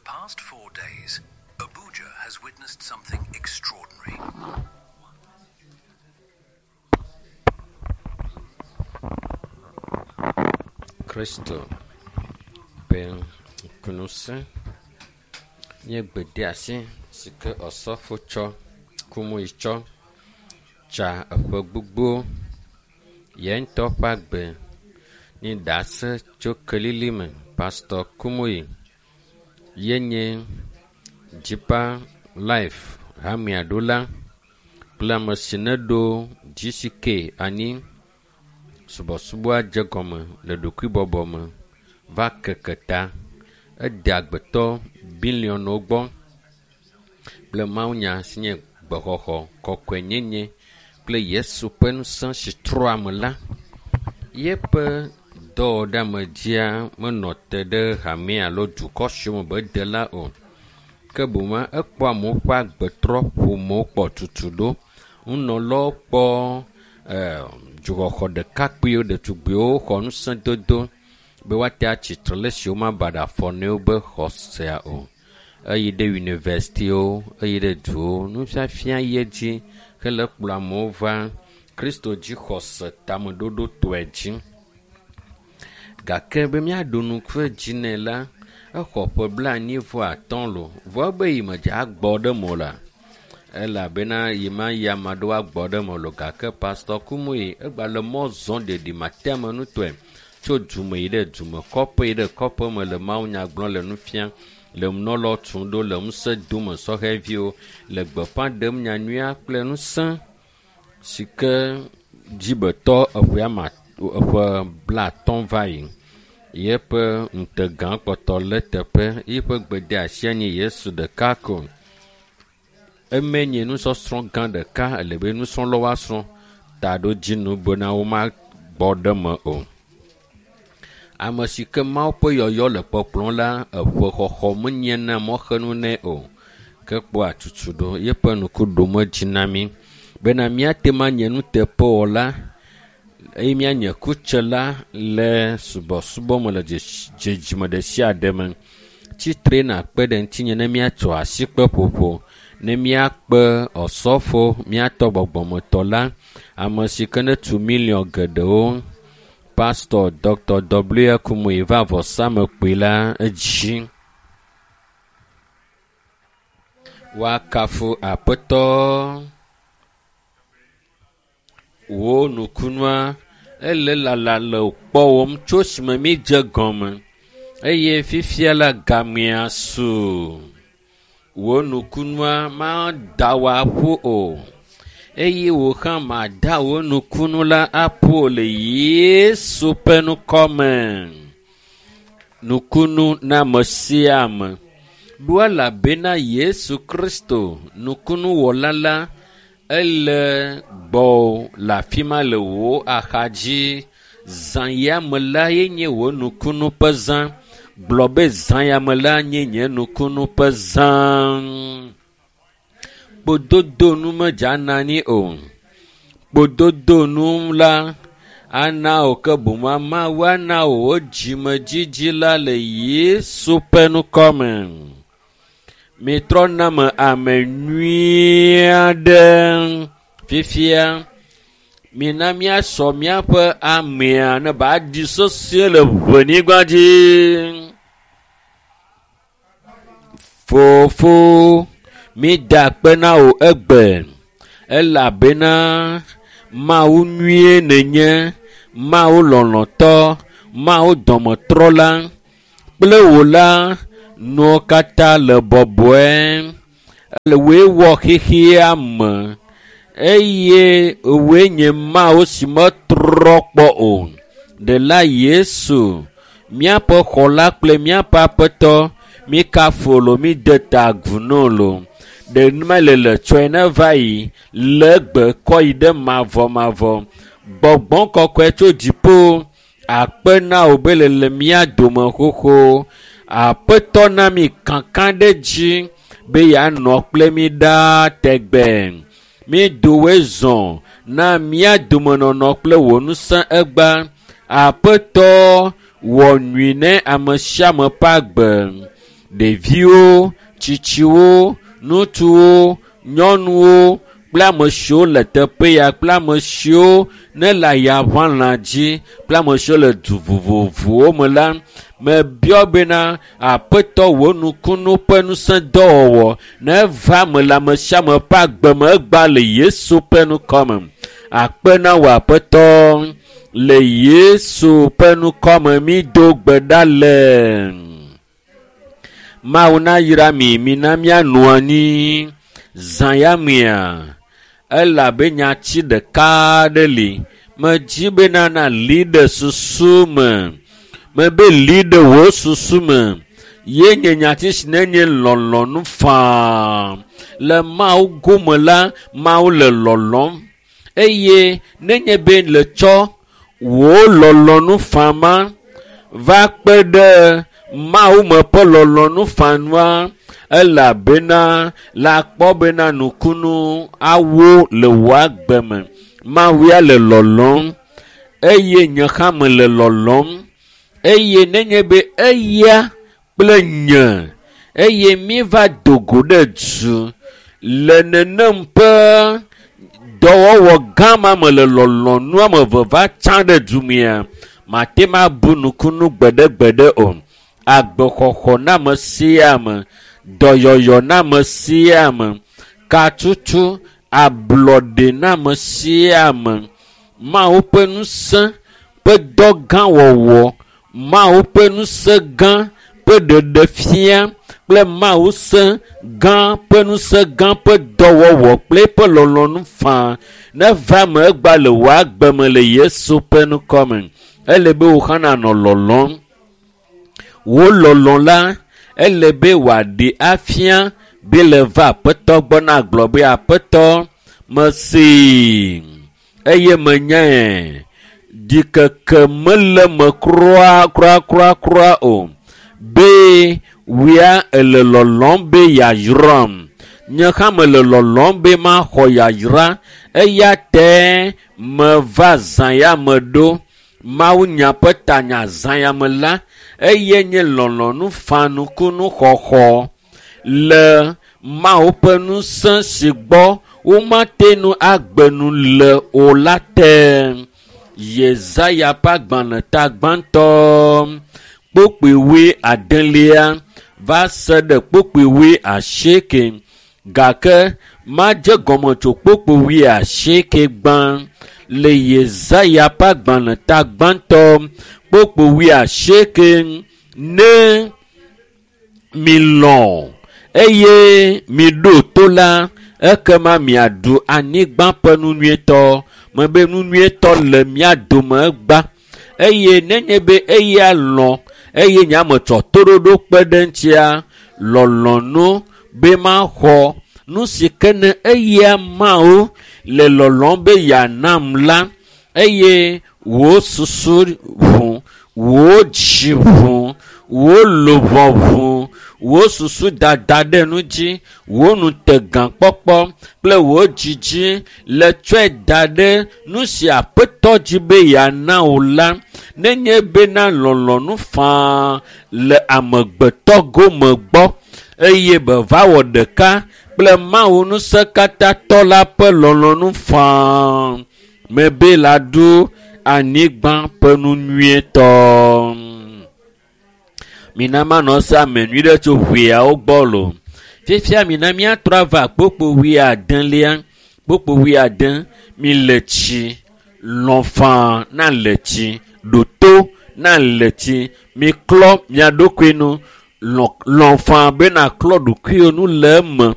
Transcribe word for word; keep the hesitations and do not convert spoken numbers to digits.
past four days, Abuja has witnessed something extraordinary. Kristo ƒe ŋukusẽ nye gbedeasi si ke Osɔfo tsɔ Kumuyi tsɔ tsa eƒe gbogbo ye ŋutɔ ƒe agbe nye ɖase tso kelili me. Pastɔ Kumuyi ye nye Deeper Life hamea ɖola kple ame si neɖo GCK anyi. Subɔsubɔa dze gɔme le ɖokuibɔbɔ me va keke ta. Ede agbetɔ biliɔnwo gbɔ kple mawunya si nye gbexɔxɔ, kɔkɔenyenye kple Yesu ƒe ŋusẽ si trɔ ame la. Yeƒe dɔwɔɖeamedzia menɔ te ɖe hame alo dukɔ siwo me be de la o. Ke boŋ ekpɔ amewo ƒe agbe trɔ, ƒomewo kpɔ tutu ɖo. Nunɔlawo kpɔ e dzoxɔxɔ ɖekakpuiwo, ɖetugbiwo xɔ ŋusẽdodo be woate atsitre le esi womaba ɖe afɔ ne wobe xɔsea o. Eyi ɖe yunivɛsitiwo, eyi ɖe duwo, nufiafia yi edzi hele kplɔ amewo va Kristo dzixɔse tameɖoɖotɔe dzi. Gake be míaɖo ŋku edzi nɛ la, exɔ ƒe blaenyi vɔ atɔ̃ lo. Vɔ ebe yi medze agbɔ ɖe eme o la, elabena yi ma yi ame aɖewo agbɔ ɖe eme lo gake Pastɔ Kumuyi egba le mɔ zɔm ɖeɖimateamenutɔe tso dume yi ɖe dume, kɔƒe yi ɖe kɔƒe me le mawunya gblɔm le nu fiam, le nunɔlawo tum ɖo le ŋusẽ dome sɔhɛviwo le gbeƒã ɖem nyanyuia kple ŋusẽ si ke dzibetɔ eƒe ama eƒe blaatɔ̃ va yi. Yeƒe ŋutegã kpɔtɔ le teƒe. Yiƒe gbedeasia nye Yesu ɖeka ko. Eme nye nusɔsrɔ̃ gã ɖeka ele be nusrɔ̃lawo woasrɔ̃ taɖodzinu bena womagbɔ ɖe eme o. Ame si ke Mawu ƒe yɔyɔ le kpɔkplɔm la, eƒe xɔxɔ menyena mɔxenu nɛ o. Ke kpɔa tutu ɖo yeƒe ŋku ɖom edzi na mí bena míate ŋu anye nuteƒewɔla eye míanye kutsela le subɔsubɔ me le dzidzime ɖe sia ɖe me. Tsitre nakpe ɖe ŋutinye ne míatso asikpe ƒoƒo, ne míakpe Osɔfo, míatɔ gbɔgbɔmetɔ la, ame si ke netu miliɔn geɖewo, Pastor Dr. W. Kumuyi va vɔsamekpui la edzi. Woakafu Aƒetɔ. Wò nukunua ele lala le kpɔwòm tso esime mídze gɔme eye fifia la gamea su. Wò nukunua mada wò aƒu o eye wò hã mada wò nukunu la aƒu o le Yesu ƒe ŋkɔ me. Nukunu na ame sia ame. Ɖo elabena Yesu Kristo nukunuwɔla la ele gbɔwò le afi ma le wò axadzi. Zã ya me la ye nye wò nukunu ƒe zã. Gblɔ be zã ya me la nye nye nukunu ƒe zã. Kpododonu medzana anyi o. Kpododonu la ana wò ke boŋ Mawu ana wò dzimedzidzi la le Yesu ƒe ŋkɔ me. Mitrɔ na me ame nyui aɖe. Fifia, mina míasɔ míaƒe amea ne ba ɖi sesĩe le ʋenyigba dzi. Fofo, mída akpe na wò egbe elabena Mawu nyuie nènye, Mawu lɔlɔ̃tɔ, Mawu dɔmetrɔla kple wò la nuwo katã le bɔbɔe. Ele wòe wɔ xexea me eye wòe nye Mawu si metrɔ kpɔ o. Ɖela Yesu, míaƒe xɔla kple míaƒe aƒetɔ, míkafu lo, míde ta agu nɛ lo. Ɖe mele le tsɔe ne va yi le egbe kɔ yi ɖe mavɔmavɔ. Gbɔgbɔ kɔkɔe tso dziƒo akpe na wò be le le mía dome xoxo. Aƒetɔ na mi kaka ɖe dzi be yeanɔ kple mi ɖaa tegbe. Mído woe zɔ na mía domenɔnɔ kple wò ŋusẽ egba. Aƒetɔ wɔ nyui ne ame sia ame ƒe agbe. Ɖeviwo, tsitsiwo, ŋutsuwo, nyɔnuwo kple ame siwo le teƒe ya kple ame siwo ne le ayaʋalã dzi kple ame siwo le du vovovowo me la, mebiɔ bena Aƒetɔ wò nukunu ƒe ŋusẽ dɔwɔwɔ neva me le ame sia ame ƒe agbe me egba le Yesu ƒe ŋkɔ me. Akpe na wò Aƒetɔ le Yesu ƒe ŋkɔ me mi do gbe ɖa le. Mawu nayra mi, mina míanɔ anyi zã ya mea elabe nyati ɖeka aɖe li. Medzi bena nali ɖe susu me. Mebe li ɖe wò susu me. Ye nye nyati si nenye lɔlɔ̃nu faa. Le Mawu gome la, Mawu le lɔlɔ̃m. Eye nenye be le tsɔ wò lɔlɔ̃nu faa ma va kpe ɖe Mawu me ƒe lɔlɔ̃nu faa nua, elabena la kpɔ bena nukunu awo le wò agbe me. Mawu ya le lɔlɔ̃m eye nye hã mele lɔlɔ̃m. Eye nenye be eya kple nye eye míeva do go ɖe du le nenem ƒe dɔwɔwɔ gã ma me le lɔlɔ̃nu ame eve va tsã ɖe du mea, mate ma bu nukunu gbeɖegbeɖe o. Agbexɔxɔ na ame sia ame, dɔyɔyɔ na ame sia ame, katutu, ablɔɖe na ame sia ame, Mawu ƒe ŋusẽ ƒe dɔ gã wɔwɔ, Mawu ƒe ŋusẽ gã ƒe ɖeɖefia kple Mawu ŋusẽ gã ƒe ŋusẽ gã ƒe dɔwɔwɔ kple eƒe lɔlɔ̃nu faa neva eme egba le wò agbe me le Yesu ƒe ŋkɔ me. Ele be wò hã nanɔ lɔlɔ̃m. Wò lɔlɔ̃ la, ele be wòaɖe afia be le va Aƒetɔ gbɔ na gblɔ be Aƒetɔ, mesee eye menyae. Ɖikeke mele me kura kura kura kura o. Be wia ele lɔlɔ̃m be yeayram. Nye hã mele lɔlɔ̃m be maxɔ yayra. Eya tae meva zã ya me ɖo. Mawu nya ƒe tanya zã ya me la, eye nye lɔlɔ̃nu faa nukunu xɔxɔ le Mawu ƒe ŋusẽ si gbɔ womate ŋu agbe nu le o la te. Yesaya ƒe agbalẽ ta gbãtɔ kpukpui wui adelia va se ɖe kpukpui wui asieke gake madze gɔme tso kpukpui wui asieke gbã le Yesaya ƒe agbalẽ ta gbãtɔ kpukpui wui asieke ne milɔ̃ eye miɖo to la ekema miaɖu anyigba ƒe nu nyuietɔ. Mebe nu nyuietɔ le mía dome egba eye nenye be eya lɔ̃ eye nye ame tsɔ toɖoɖo kpe ɖe ŋutia lɔlɔ̃nu be maxɔ nu si ke ne eya Mawu le lɔlɔ̃m be yeanam la eye wò susu ʋu, wò dzi ʋu, wò luʋɔ ʋu, wò susu dada ɖe nu dzi, wò ŋutegãkpɔkpɔ kple wò dzidzi le tsɔe da ɖe nu si Aƒetɔ dzi be yeana wò la, nenye bena lɔlɔ̃nu faa le amegbetɔ gome gbɔ eye be va wɔ ɖeka kple Mawu ŋusẽkatãtɔ la ƒe lɔlɔ̃nu faa mebe la ɖu anyigba ƒe nu nyuietɔ. Mina manɔ se ame nyui ɖe tso ʋeawo gbɔ lo. Fifia mina míatrɔ ava kpukpui wui adelia, kpukpui wui ade, mi le tsi, lɔ̃ faa na le tsi, ɖo to na le tsi, miklɔ mia ɖokui nu, lɔ̃, lɔ̃ faa be naklɔ ɖokuiwò nu le eme